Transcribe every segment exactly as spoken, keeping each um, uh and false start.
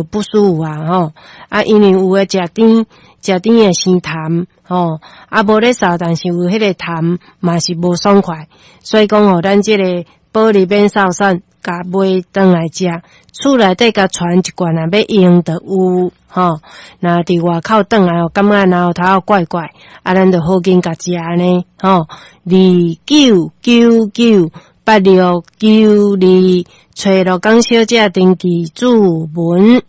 不舒服啊吼。啊，因為有的食甜，食甜會生痰吼，啊，無咧嗽，但是有彼個痰嘛是無爽快，所以講吼，咱這個保利免嗽散，共買轉來食，厝內底共傳一罐，若欲用就有吼。若佇外口轉來吼，感覺嚨頭怪怪，啊，咱就好緊共食按呢吼。二九九九八六九二，揣羅江小姐登記注文。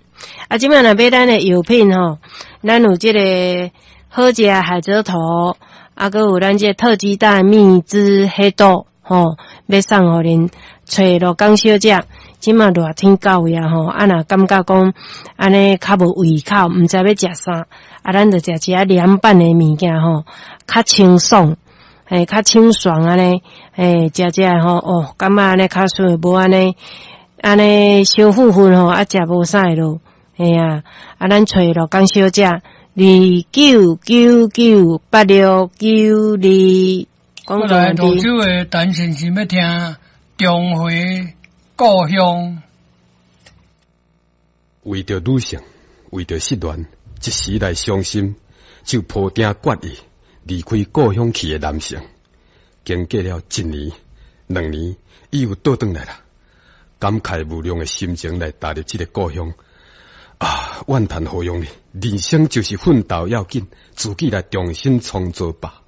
啊，這擺若買咱的藥品吼，咱有這個好食海蜇頭，啊，閣有咱這個特級大蜜汁黑豆吼，欲送予恁揣羅江小姐。這馬熱天到位啊吼，啊若感覺講按呢較無胃口，毋知欲食啥，啊，咱就食一下涼拌的物件吼，較清爽，嘿，較清爽按呢，嘿，食食吼，哦，感覺按呢較順，無按呢按呢燒糞糞吼，啊，食無啥會落，嘿啊，啊，咱揣羅江小姐二九九九八六九二。過來蘆洲的陳先生欲聽重回故鄉。為著女性，為著失戀，一時來傷心，就抱定決意離開故鄉去的男性，經過了一年、兩年，伊又倒轉來啦，感慨無量的心情來踏入這個故鄉。啊，怨嘆何用呢？人生就是奮鬥要緊，自己來重新創造吧。